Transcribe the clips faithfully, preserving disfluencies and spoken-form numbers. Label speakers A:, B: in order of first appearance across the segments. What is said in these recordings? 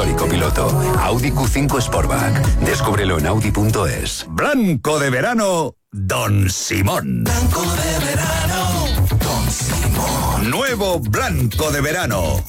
A: histórico piloto. Audi Q cinco Sportback. Descúbrelo en audi punto es.
B: Blanco de verano, Don Simón.
C: Blanco de verano, Don Simón.
B: Nuevo blanco de verano,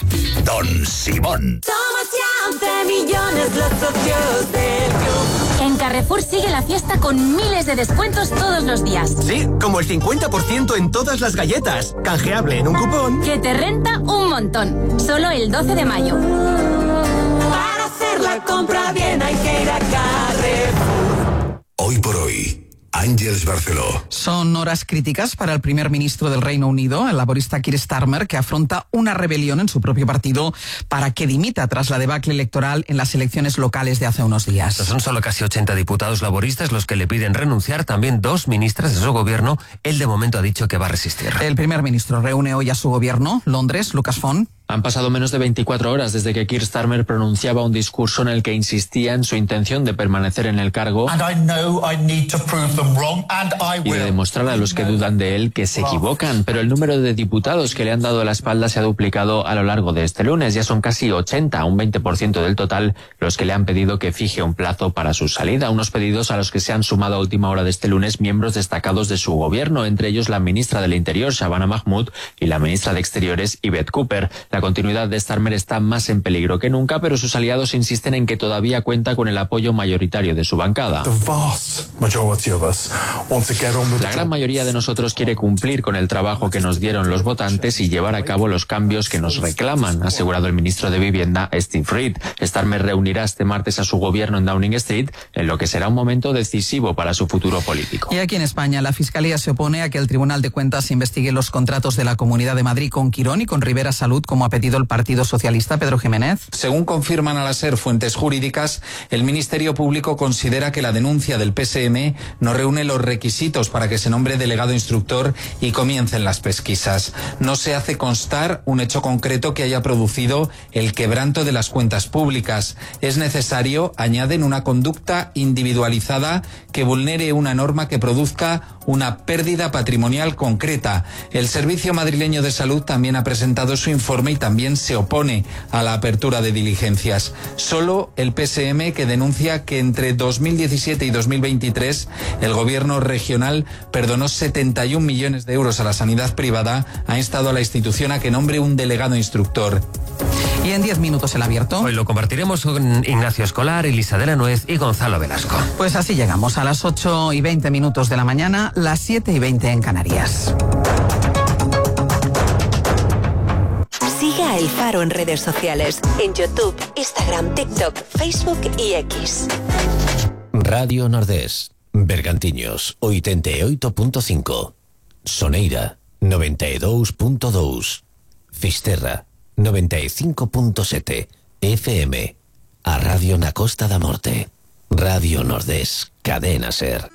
B: Don Simón.
D: Somos ya once millones los socios del club. En Carrefour sigue la fiesta con miles de descuentos todos los días.
E: Sí, como el cincuenta por ciento en todas las galletas. Canjeable en un cupón.
D: Que te renta un montón. Solo el doce de mayo. Para hacer la compra bien hay que ir a Carrefour.
A: Hoy por hoy, Àngels Barceló.
F: Son horas críticas para el primer ministro del Reino Unido, el laborista Keir Starmer, que afronta una rebelión en su propio partido para que dimita tras la debacle electoral en las elecciones locales de hace unos días.
G: Son solo casi ochenta diputados laboristas los que le piden renunciar, también dos ministras de su gobierno. Él de momento ha dicho que va a resistir.
F: El primer ministro reúne hoy a su gobierno, Londres, Lucas Font.
H: Han pasado menos de veinticuatro horas desde que Keir Starmer pronunciaba un discurso en el que insistía en su intención de permanecer en el cargo y de demostrar a los que dudan de él que se equivocan. Pero el número de diputados que le han dado la espalda se ha duplicado a lo largo de este lunes. Ya son casi ochenta, un veinte por ciento del total, los que le han pedido que fije un plazo para su salida. Unos pedidos a los que se han sumado a última hora de este lunes miembros destacados de su gobierno, entre ellos la ministra del Interior, Shabana Mahmood, y la ministra de Exteriores, Yvette Cooper. La continuidad de Starmer está más en peligro que nunca, pero sus aliados insisten en que todavía cuenta con el apoyo mayoritario de su bancada. La gran mayoría de nosotros quiere cumplir con el trabajo que nos dieron los votantes y llevar a cabo los cambios que nos reclaman, ha asegurado el ministro de Vivienda, Steve Reed. Starmer reunirá este martes a su gobierno en Downing Street, en lo que será un momento decisivo para su futuro político.
F: Y aquí en España, la Fiscalía se opone a que el Tribunal de Cuentas investigue los contratos de la Comunidad de Madrid con Quirón y con Rivera Salud, como ha pedido el Partido Socialista. Pedro Jiménez.
I: Según confirman a la SER fuentes jurídicas, el Ministerio Público considera que la denuncia del P S M no reúne los requisitos para que se nombre delegado instructor y comiencen las pesquisas. No se hace constar un hecho concreto que haya producido el quebranto de las cuentas públicas. Es necesario, añaden, una conducta individualizada que vulnere una norma que produzca una pérdida patrimonial concreta. El Servicio Madrileño de Salud también ha presentado su informe y también se opone a la apertura de diligencias. Solo el P S M, que denuncia que entre dos mil diecisiete y dos mil veintitrés el gobierno regional perdonó setenta y un millones de euros a la sanidad privada, ha instado a la institución a que nombre un delegado instructor.
F: Y en diez minutos el abierto.
G: Hoy lo compartiremos con Ignacio Escolar, Elisa de la Nuez y Gonzalo Velasco.
F: Pues así llegamos a las ocho y veinte minutos de la mañana, las siete y veinte en Canarias.
J: Siga El Faro en redes sociales, en YouTube, Instagram, TikTok, Facebook y X.
K: Radio Nordés, Bergantiños, oitenta e oito punto cinco. Soneira, noventa e dous punto dous. Fisterra, noventa e cinco punto sete. F M. A Radio na Costa da Morte. Radio Nordés, Cadena Ser.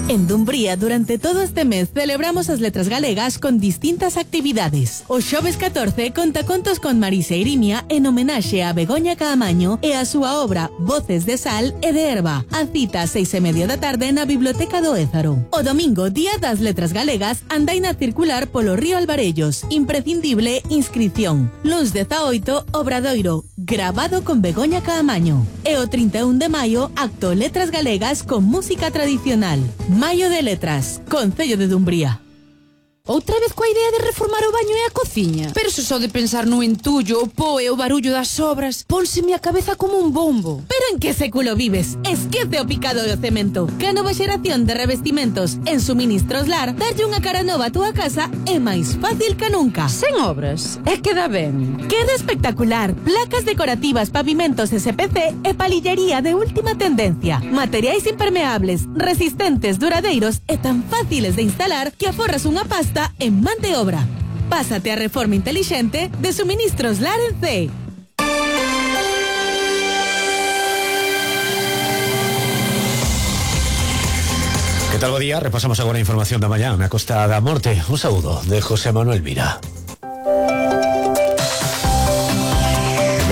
L: En Dumbría, durante todo este mes, celebramos as letras galegas con distintas actividades. O xoves catorce conta contos con Marisa Irimia en homenaxe a Begoña Caamaño e a súa obra Voces de Sal e de Herba. A cita a seis e media da tarde na Biblioteca do Ézaro. O domingo, Día das Letras Galegas, andaina circular polo río Alvarellos. Imprescindible inscripción. Luns dezaoito, Obradoiro, grabado con Begoña Caamaño. E o trinta e un de maio, acto Letras Galegas con música tradicional. Maio de Letras, Concello de Dumbría.
M: Outra vez coa idea de reformar o baño e a cociña. Pero se só de pensar no entullo, o po e o barullo das obras, pónseme a cabeza como un bombo.
L: Pero en que século vives? Esquece o picado do cemento. Que a nova xeración de revestimentos en Suministros Lar, darlle unha cara nova a túa casa é máis fácil que nunca.
M: Sen obras, é que dá ben.
L: Queda espectacular. Placas decorativas, pavimentos S P C e palillería de última tendencia. Materiais impermeables, resistentes, duradeiros e tan fáciles de instalar que aforras unha pasta en man de obra. Pásate a reforma inteligente de Suministros Lar en C.
K: Que tal bo día? Repasamos agora a información da mañá na Costa da Morte. Un saúdo de José Manuel Mira.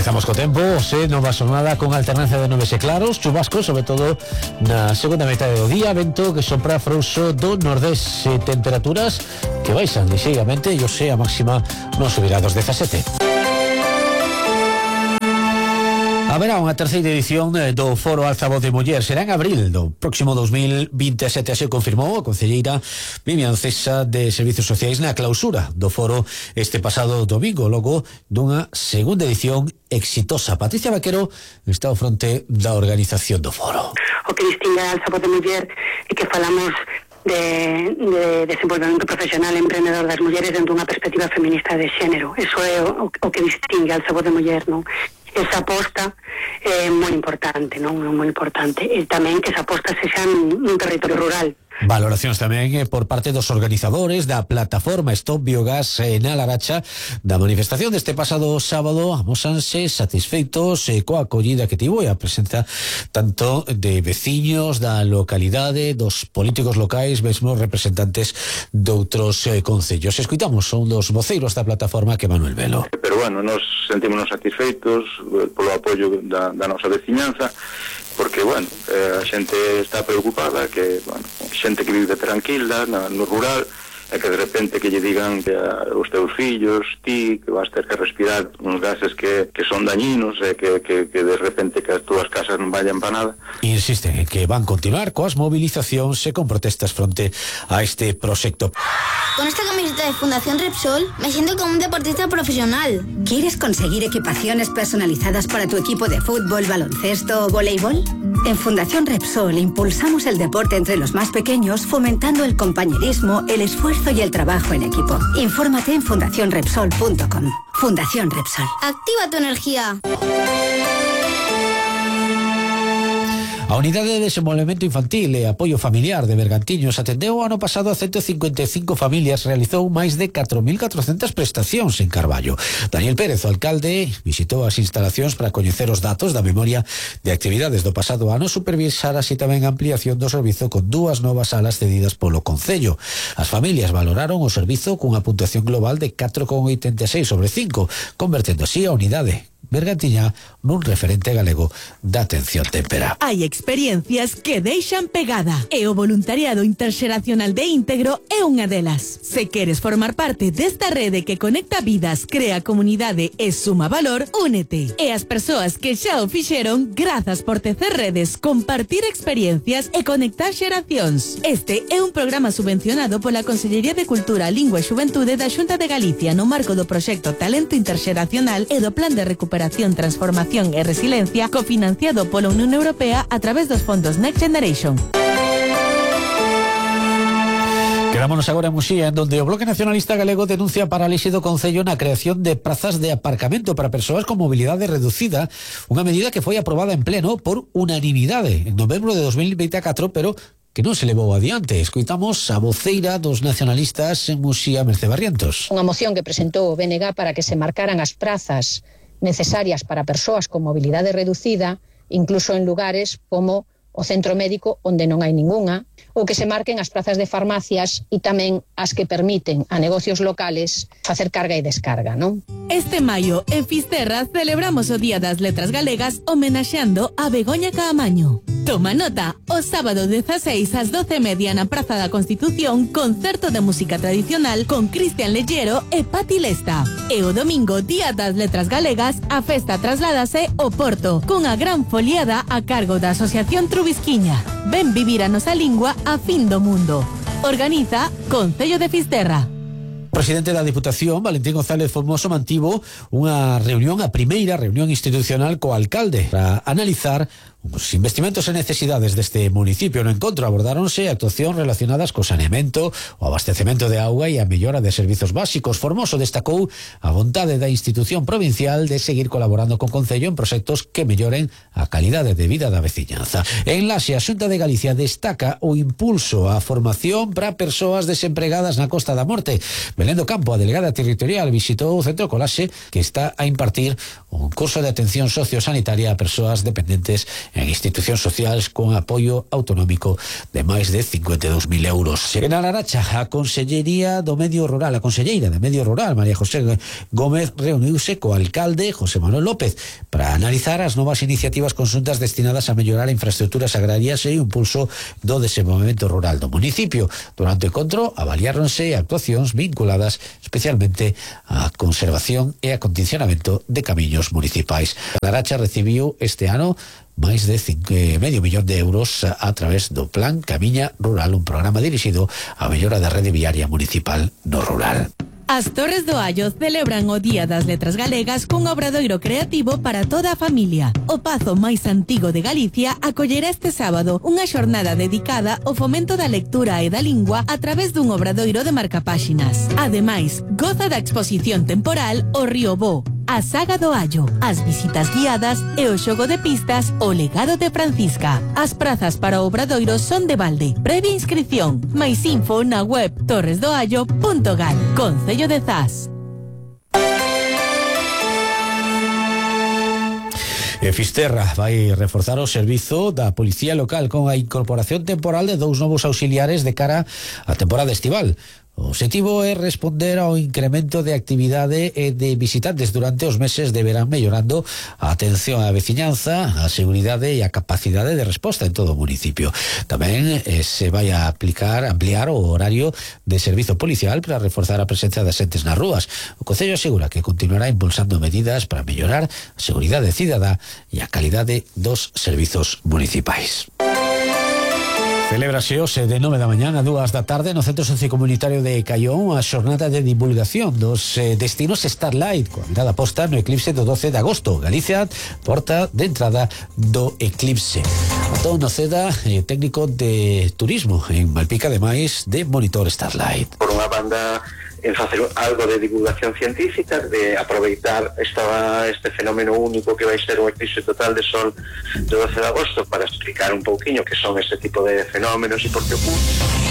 K: Empezamos co tempo, se nova xornada con alternancia de nubes e claros, chubascos, sobre todo na segunda metade do día, vento que sopra frouxo do nordés, e temperaturas que baixan lixeiramente, e hoxe a máxima non subirá dos dezasete.
N: Haberá unha terceira edición do Foro Altavoz de Muller. Será en abril do próximo dos mil vinte e sete, así confirmou a concelleira Vivian Cesa de Servicios Sociais na clausura do foro este pasado domingo, logo dunha segunda edición exitosa. Patricia Vaquero está ao fronte da organización do foro.
O: O que distingue a Altavoz de Muller é que falamos de, de desenvolvemento profesional e emprendedor das mulleres dentro dunha perspectiva feminista de xénero. Eso é o, o que distingue a Altavoz de Muller, non? Esa aposta é moi importante, non? É moi importante. E tamén que esa aposta sexa nun territorio rural.
N: Valoracións tamén eh, por parte dos organizadores da plataforma Stop Biogás eh, na Laracha da manifestación deste pasado sábado. Amósanse satisfeitos eh, coa acollida que tivo e a presenza tanto de veciños da localidade, dos políticos locais, mesmo representantes de outros eh, concellos. Escuitamos un dos voceiros da plataforma, que Manuel Velo.
P: Pero bueno, nos sentímonos satisfeitos eh, polo apoio da, da nosa veciñanza, porque, bueno, eh, a xente está preocupada, que, bueno, xente que vive tranquila na, no rural, e que de repente que lle digan que a, os teus fillos, ti, que vas ter que respirar uns gases que, que son dañinos, e que, que, que de repente que as túas casas non vayan para nada.
N: Insisten en que van continuar coas movilizacións e con protestas fronte a este proxecto.
Q: Con esta camiseta de Fundación Repsol me siento como un deportista profesional.
R: ¿Quieres conseguir equipaciones personalizadas para tu equipo de fútbol, baloncesto o voleibol? En Fundación Repsol impulsamos el deporte entre los más pequeños, fomentando el compañerismo, el esfuerzo y el trabajo en equipo. Infórmate en fundación repsol punto com. Fundación Repsol.
Q: Activa tu energía.
N: A Unidade de Desenvolvemento Infantil e Apoio Familiar de Bergantiños atendeu o ano pasado a ciento cincuenta e cinco familias, realizou máis de catro mil catrocentas prestacións en Carballo. Daniel Pérez, o alcalde, visitou as instalacións para coñecer os datos da memoria de actividades do pasado ano, supervisar así tamén a ampliación do servizo con dúas novas salas cedidas polo Concello. As familias valoraron o servizo cunha puntuación global de catro coma oitenta e seis sobre cinco, convertendo así a Unidade Bergantiña nun referente galego da atención témpera.
L: Hai experiencias que deixan pegada e o voluntariado interxeracional de Íntegro é unha delas. Se queres formar parte desta rede que conecta vidas, crea comunidade e suma valor, únete. E as persoas que xa o fixeron, grazas por tecer redes, compartir experiencias e conectar xeracións. Este é un programa subvencionado pola Consellería de Cultura, Lingua e Xuventude da Xunta de Galicia no marco do proxecto Talento Interxeracional e do Plan de Recuperación, Transformación e Resiliencia, cofinanciado pola Unión Europea a través dos fondos Next Generation.
N: Quedámonos agora en Muxía, en donde o Bloque Nacionalista Galego denuncia a parálise do Concello na creación de prazas de aparcamento para persoas con mobilidade reducida, unha medida que foi aprobada en pleno por unanimidade en novembro de dos mil veinticuatro, pero que non se levou adiante. Escoitamos a voceira dos nacionalistas en Muxía, Mercé Barrientos.
S: Unha moción que presentou o B N G para que se marcaran as prazas necesarias para persoas con mobilidade reducida, incluso en lugares como o centro médico onde non hai ningunha, ou que se marquen as prazas de farmacias e tamén as que permiten a negocios locales facer carga e descarga, non?
L: Este maio, en Fisterra, celebramos o Día das Letras Galegas homenaxeando a Begoña Caamaño. Toma nota, o sábado dezaseis ás doce e media na Praza da Constitución, concerto de música tradicional con Cristian Lellero e Pati Lesta. E o domingo, Día das Letras Galegas, a festa trasládase ao Porto, cunha gran foliada a cargo da Asociación Trubisquiña. Ven vivir a nosa lingua a fin do mundo. Organiza Concello de Fisterra.
N: O presidente da Diputación, Valentín González Formoso, mantivo unha reunión, a primeira reunión institucional co alcalde para analizar os investimentos e necesidades deste municipio. No encontro abordáronse actuacións relacionadas co saneamento, o abastecemento de auga e a mellora de servizos básicos. Formoso destacou a vontade da institución provincial de seguir colaborando con Concello en proxectos que melloren a calidade de vida da veciñanza. En Laxe, a Xunta de Galicia destaca o impulso á formación para persoas desempregadas na Costa da Morte. Belén do Campo, a delegada territorial, visitou o Centro Colaxe, que está a impartir un curso de atención sociosanitaria a persoas dependentes en institucións sociais con apoio autonómico de máis de cincuenta e dous mil euros. En A Laracha, a Consellería do Medio Rural, a Conselleira de Medio Rural, María José Gómez, reuniuse co alcalde José Manuel López para analizar as novas iniciativas conxuntas destinadas a mellorar infraestructuras agrarias e o impulso do desenvolvemento rural do municipio. Durante o encontro avaliáronse actuacións vinculadas especialmente á conservación e acondicionamento de camiños municipais. A Laracha recibiu este ano máis de cinco, medio millón de euros a, a través do Plan Camiña Rural, un programa dirixido á mellora da rede viaria municipal no rural.
L: As Torres do Allo celebran o Día das Letras Galegas cun obradoiro creativo para toda a familia. O pazo máis antigo de Galicia acollerá este sábado unha xornada dedicada ao fomento da lectura e da lingua a través dun obradoiro de marcapáxinas. Ademais, goza da exposición temporal O Río Bo, a Saga do Allo, as visitas guiadas e o xogo de pistas O Legado de Francisca. As prazas para o obradoiro son de balde. Previa inscripción. Máis info na web torres do allo punto gal. Concello de Zas.
N: E Fisterra vai reforzar o servizo da Policía Local con a incorporación temporal de dous novos auxiliares de cara á temporada estival. O objetivo é responder ao incremento de actividade e de visitantes durante os meses de verán, mellorando a atención á veciñanza, a seguridade e a capacidade de resposta en todo o municipio. Tamén eh, se vai a aplicar, ampliar o horario de servizo policial para reforzar a presencia de xentes nas rúas. O Concello asegura que continuará impulsando medidas para mellorar a seguridade cidadá e a calidade dos servizos municipais. Celébrase hoxe de nove da mañá a dúas da tarde no Centro Sociocomunitario de Caión a xornada de divulgación dos eh, destinos Starlight, coa mirada posta no eclipse do doce de agosto. Galicia, porta de entrada do eclipse. Antón Noceda, eh, técnico de turismo en Malpica, ademais de monitor Starlight.
T: Por unha banda, en facer algo de divulgación científica, de aproveitar esta, este fenómeno único que vai ser o eclipse total de sol do doce de agosto para explicar un pouquiño que son este tipo de fenómenos e por que ocurre.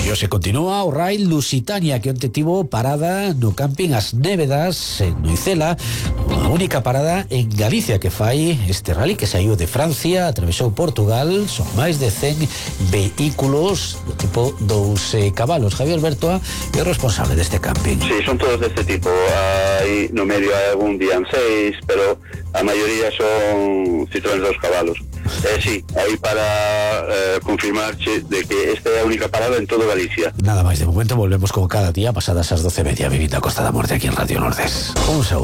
N: E hoxe continúa o Rail Lusitania, que onte tivo parada no camping As Névedas en Noicela, a única parada en Galicia que fai este rally que saiu de Francia, atravesou Portugal. Son máis de cen vehículos do tipo dous eh, cabalos. Javier Bertoa é o responsable deste camping.
U: Sí, son todos deste tipo. Hai no medio hai algún día en seis, pero a maioría son Citroën dos cabalos. Eh, sí, aí para eh, confirmarche de que esta é a única parada en todo Galicia.
N: Nada máis de momento, volvemos como cada día pasadas as doce e media, vivindo a Costa da Morte aquí en Radio Nordés. Un saúdo.